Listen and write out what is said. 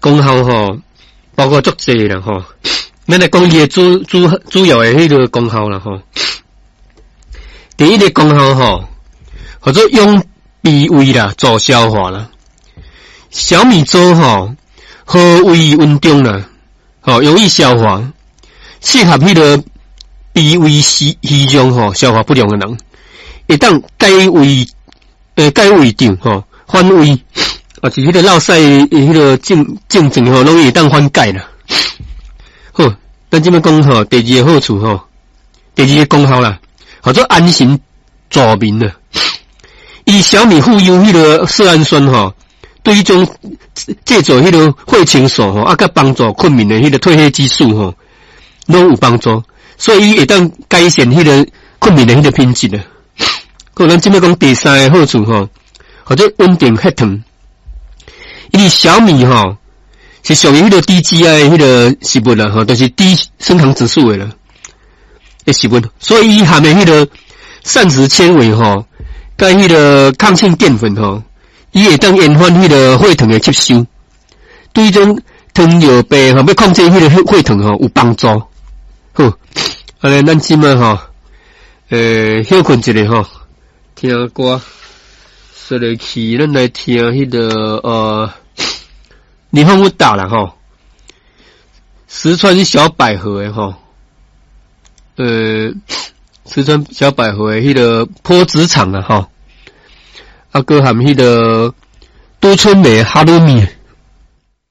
功效吼，包括足濟啦吼。咱來講伊的主要的彼個功效啦吼。第一个功效吼，號做養脾胃啦，助消化啦。小米粥吼，和胃溫中啦，吼容易消化，適合彼個脾胃虛弱吼，消化不良的人，會當解胃，解胃脹吼，反胃，啊是彼個落屎彼個症狀吼，攏會當緩解啦。好，咱這擺講吼，第二个好處吼，第二个功效啦，號做安神助眠啊。伊小米富有彼個色氨酸吼，對彼種製造彼個血清素吼，啊，佮幫助睏眠的彼個褪黑激素吼，攏有幫助，所以伊會當改善彼個睏眠的彼個品質啊。好，咱這擺講第三个好處吼，號做穩定血糖。因為小米吼是屬於彼個低 GI 的彼個食物啦，吼，就是低升糖指數的啦的食物，所以伊含的彼個膳食纖維吼，佮彼個抗性澱粉吼，伊會當延緩彼個血糖的吸收，對這種糖尿病吼，欲控制彼個血糖吼有幫助。好，按呢咱這擺吼，歇睏一下吼，聽歌，說來去，咱來聽彼個日本有打啦吼，石川小百合的吼，石川小百合的彼个波子場啊吼，啊，閣含彼個都春美哈魯米。